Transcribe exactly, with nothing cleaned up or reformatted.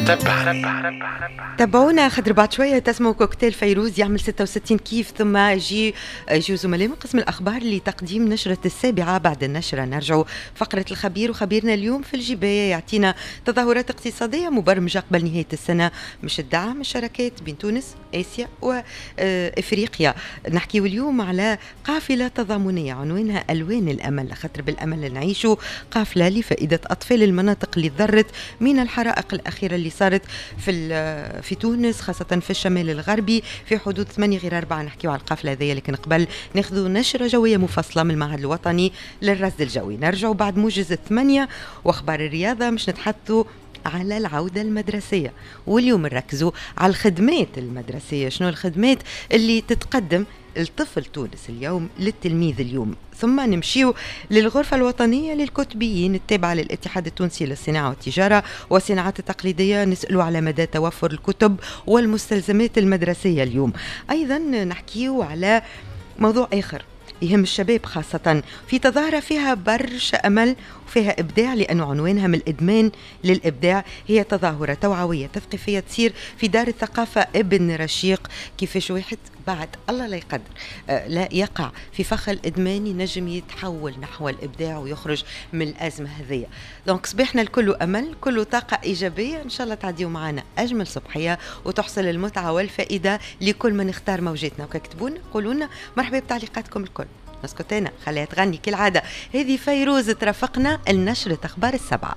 تبعني. تابعونا خاطر بعد شوية تسمعوا كوكتيل فيروز يعمل ستة وستين كيف، ثم يجي يجيو زملاء من قسم الاخبار لتقديم نشره السابعه. بعد النشرة نرجعوا فقره الخبير، وخبيرنا اليوم في الجبايه يعطينا تظاهرات اقتصادية مبرمجه قبل نهاية السنة مش الدعم الشراكات بين تونس، اسيا وافريقيا. نحكيو اليوم على قافله تضامنيه عنوانها الوان الامل، خاطر بالامل نعيشوا، قافله لفائدة اطفال المناطق اللي تضرت من الحرائق الاخيرة اللي صارت في في تونس، خاصة في الشمال الغربي. في حدود ثمانية غير أربعة نحكيو على القافلة هذيا، لكن قبل ناخذوا نشرة جوية مفصلة من المعهد الوطني للرصد الجوي. نرجعوا بعد موجز الثمانية وأخبار الرياضة مش نتحدثوا على العودة المدرسية، واليوم نركزوا على الخدمات المدرسية، شنو الخدمات اللي تتقدم الطفل تونس اليوم، للتلميذ اليوم. ثم نمشيو للغرفة الوطنية للكتبيين التابعة للاتحاد التونسي للصناعة والتجارة والصناعات التقليدية، نسألوا على مدى توفر الكتب والمستلزمات المدرسية اليوم. أيضا نحكيو على موضوع آخر يهم الشباب خاصة، في تظاهرة فيها برشا أمل وفيها إبداع، لأنه عنوانها من الإدمان للإبداع. هي تظاهرة توعوية تثقيفية تصير في دار الثقافة ابن رشيق، كيفاش واحد بعد الله لا يقدر لا يقع في فخ الإدمان ينجم يتحول نحو الإبداع ويخرج من الأزمة هذية. donc صباحنا الكل أمل، كله طاقة إيجابية، إن شاء الله تعديوا معنا أجمل صبحية وتحصل المتعة والفائدة لكل من اختار موجاتنا. وكتبونا قولونا مرحبا بتعليقاتكم الكل. نسكتنا خليها تغني كالعادة، هذه فيروز ترافقنا النشرة أخبار السبعة.